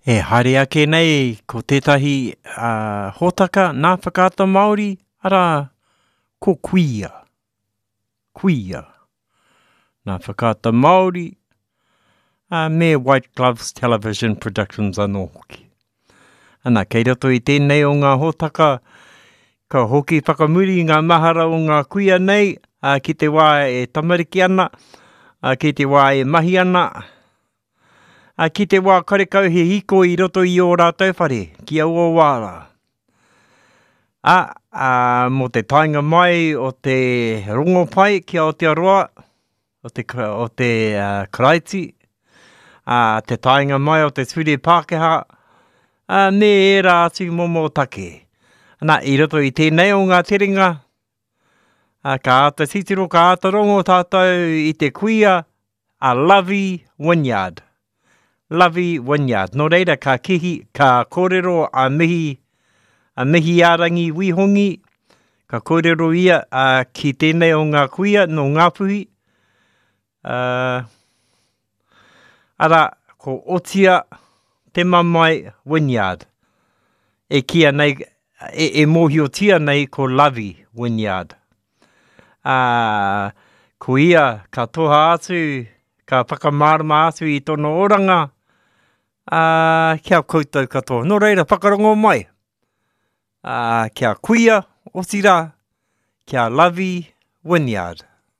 E haere ake nei ko tētahi hōtaka nā Whakaata Māori, arā, ko Kuia. Kuia. Nā Whakaata Māori, ā, me White Gloves Television Productions anō hoki. Ana, kei roto i tēnei o ngā hōtaka, ka hoki whakamuri ngā mahara o ngā kuia nei, ā, ki te wā e tamariki ana, ā, ki te wā e mahi ana, Ā, ki te wā karekau he hiko i roto i ō rātou whare, ki aua wā rā. Ā, ā, mō te taenga mai o te rongopai ki Aotearoa, o te, o te uh, Karaiti, ā, te taenga mai o te ture Pākehā, ā, me ērā atu momo take. Nā, i roto i tēnei o ngā terenga, ā, ka āta titiro, ka āta rongo tātou i te kuia, a Lovey Wynyard. Lovey Wynyard. Nō reira, ka kihi, ka kōrero a Mihi, a Mihiārangi Wihongi, ka kōrero ia a, ki tēnei o ngā kuia nō Ngāpuhi, uh, arā, ko Otia Te Mamae Wynyard, e kīia nei, e, e mōhiotia nei ko Lovey Wynyard. Ā, ko ia ka toha atu, ka whakamārama atu i tōna oranga, ā, ki a koutou katoa. Nō reira, whakarongo mai, ā, kia kuia, otirā, kia Lovey Wynyard.